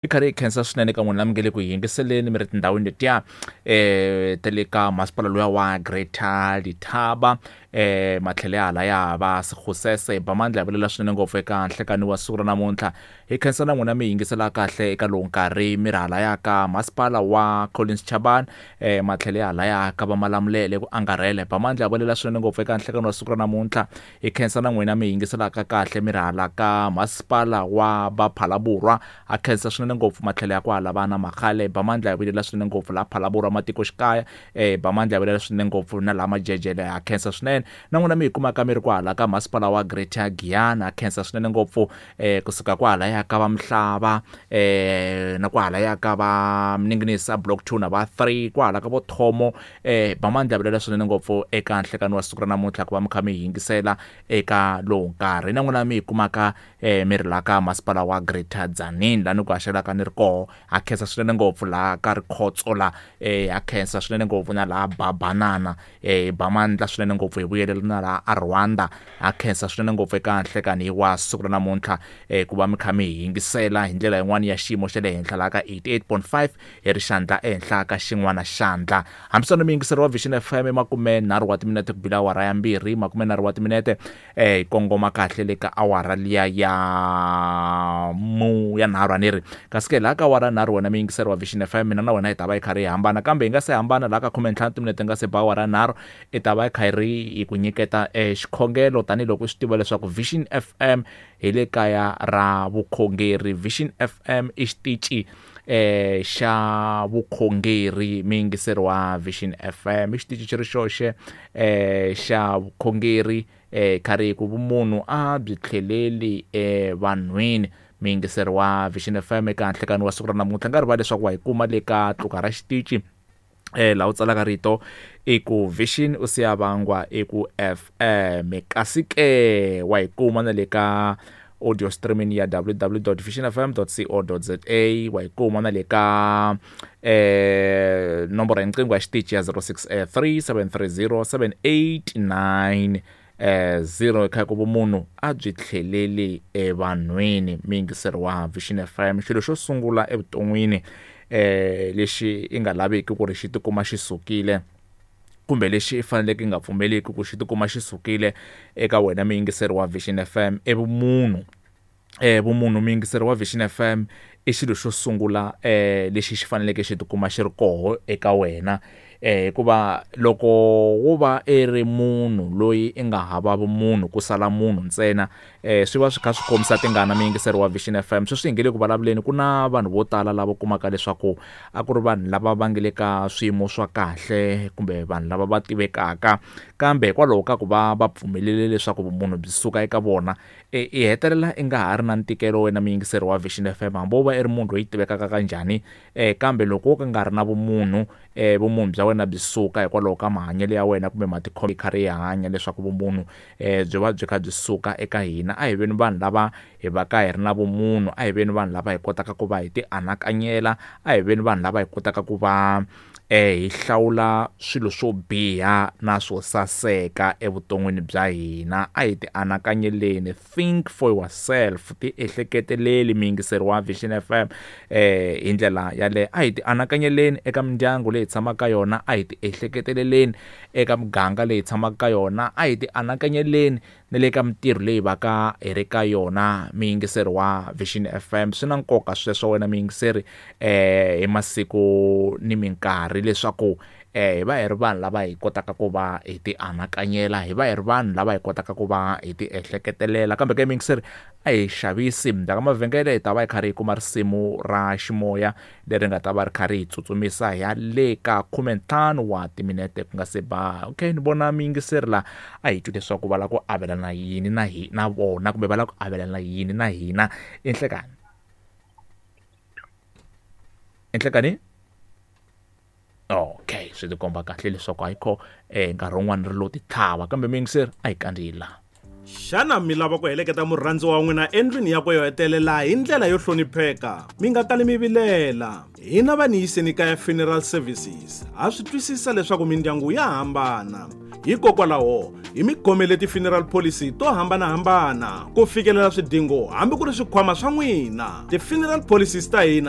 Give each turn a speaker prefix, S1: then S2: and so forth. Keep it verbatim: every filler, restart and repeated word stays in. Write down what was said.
S1: Hi karhi hi khensa swinene ka n'wina mi nge le ku yingiseleni mi ri tindhawini letiya um ta le ka masipala luya wa Greater Letaba um matlhelo ya hala ya va Sekgosese ba mandla hi vulela swinene ngopfu eka nhlekani wa siku ra namuntlha. Hi khensa na n'wina mi yingisela kahle eka lowu nkarhi mi ri halaya ka masipala wa Collins Chabane um matlhelo ya halaya ka va Malamulele ku angarhela ba mandla hi vulela swinene ngopfu eka nhlekani wa siku ra namuntlha. Hi khensa na n'wina mi yingiselaka kahle mi ri hala ka masipala wa va Phalaborwa ha khensa swinene ngopfu matlhelo ya kwala vana Makhale ba mandla hi vulela swinene ngopfu laha Phalaborwa matikoxikaya um ba mandla hi vulela swinene ngopfu na laha Majejele ha khensa swinene na n'wina mi hi kumaka mi ri kwahala ka masipala wa Greater Giyani ha khensa swinene ngopfu um kusuka kwahalaya ka va Mhlava um na kwahalaya ka va Mninginisi a block two na va three kwahala ka vo Thomo um ba mandla hi vulela swinene ngopfu eka nhlekani wa siku ra namuntlha ku va mi kha mi yingisela eka lowu nkarhi na n'wina mi hi kumaka um mi ri laha ka masipala wa Greater Tzaneen laha ni ku haxelaka ni ri koho ha khensa swinene ngopfu laha ka Rikhotso la um ha khensa swinene ngopfu na laha Babanana um ba mandla swinene ngopfu hi vuyelela na laha a Rwanda ha khensa swinene ngopfu eka nhlekani wa siku ra namuntlha um ku va mi kha mi hi yingisela hi ndlela yin'wani ya xiyimo xa le henhla laha ka eighty-eight point five hi ri xandla ehenhla ka xin'wana xandla. Hambisano muyingiseri wa Vision F M makume nharhu wa timinete ku bila awara ya mbirhi makume nharhu wa timinete um hi kongoma kahle le ka awara liya ya mu ya nharhu a ni ri kasi ke laha ka awara nharhu wena muyingiseri wa Vision F M mina na wena hi ta va hi karhi hi hambana kambe hi nga se hambana laha ka khume ntlhanu timinete nga se ba awara nharhu i ta va hi kha hi ri hi ku nyiketa um xikhongelo tanihiloko u swi tiva leswaku Vision F M hi le kaya ra vukhongeri. Vision F M i xitici eh xa vukhongeri muyingiseri wa Vision F M i xitici xi ri xoxe eh xa vukhongeri eh karhi ku vumunhu a byi tlheleli evanhwini. Muyingiseri wa Vision F M eka nhlekani wa siku ra namuntlha nga rivali leswaku wa hi kuma le ka tluka ra xitici eh laha u tsalaka rito i ku Vision u siya vangwa i ku F M kasi ke wa hi kuma na le ka audio streaming ya w w w dot vision f m dot co dot z a wa hi kuma na le ka eh nomboro ya riqingho ya xitici ya zero six three seven three zero seven eight nine eh zero kha ku vumunhu a byi tlheleli evanhwini. Muyingiseri wa Vision F M xilo xo sungula evuton'wini eh lexi i nga laveki ku ri xi tikuma xi sukile kumbe lexi i faneleke i nga pfumeliki ku xi tikuma xi sukile eka wena muyingiseri wa Vision F M i vumunhu. Eh vumunhu muyingiseri wa Vision F M i xilo xo sungula eh lexi xi faneleke xi tikuma xi ri koho eka wena eh hikuva loko wo va i ri munhu loyi i nga hava vumunhu ku sala munhu ntsena eh swi va swi kha swi kombisa tingana muyingiseri wa Vision F M. Sweswi hi nge le ku vulavuleni ku na vanhu vo tala lava kumaka leswaku a ku ri vanhu lava va nge le ka swiyimo swa kahle kumbe vanhu lava va tivekaka kambe hikwalaho ka ku va va pfumelele leswaku vumunhu byi suka eka vona i hetelela i nga ha ri na ntikelo wena muyingiseri wa Vision F M hambi wo va i ri munhu loyi tivekaka kanjhani eh kambe loko wo ka nga ri na vumunhu eh vumunhu bya wena byi suka hikwalaho ka mahanyelo ya wena kumbe matikhomelo hi karhi hi hanya leswaku vumunhu eh byi va byi kha byi suka eka hina. A hi veni vanhu lava hi va ka hi ri na vumunhu, a hi veni vanhu lava hi kotaka ku va hi ti anakanyela, a hi veni vanhu lava hi kotaka ku va eh hi hlawula swilo swo biha na swo saseka evuton'wini bya hina. A hi ti anakanyeleni, think for yourself, ti ehleketeleli muyingiseri wa Vision F M eh hi ndlela yaleyo. A hi ti anakanyeleni eka mindyangu leyi tshamaka ka yona, a hi ti ehleketeleleni eka miganga leyi tshamaka ka yona, a hi ti anakanyeleni na le ka mintirho leyi va ka hi ri ka yona muyingiseri wa Vision F M. Swi na nkoka sweswo wena muyingiseri eh hi masiku ni minkarhi leswaku eh hi va hi ri vanhu lava hi kotaka ku va hi ti anakanyela, hi va hi ri vanhu lava hi kotaka ku va hi ti ehleketelela. Kambe ke muyingiseri a hi xavisi ndzhaku ka mavhengele hi ta va hi karhi hi kuma risimu ra ximoya leri nga ta va ri karhi hi tsutsumisa hi ya le ka khume ntlhanu wa timinete ku nga se ba. Okay, ni vona muyingiseri la a hi twi leswaku va lava ku avelana yini na hi na vona kumbe va lava ku avelana yini na hina enhlekani enhlekani. Okay, swi tikomba kahle leswaku ayikho eh nkarhi wun'wani ri lo ti tlhava kambe muyingiseri a hi kandziyi laha.
S2: Xana mi lava ku heleketa murhandziwa wa n'wina endlwini yakwe yo hetelela hi ndlela yo hlonipheka? Mi nga kali mi vilela. Hina va Niyiseni Kaya Funeral Services ha swi twisisa leswaku mindyangu ya hambana. Hikokwalaho hi mi khomele ti-funeral policy to hambanahambana ku fikelela swidingo hambi ku ri swikhwama swa n'wina. Ti-funeral policies ta hina.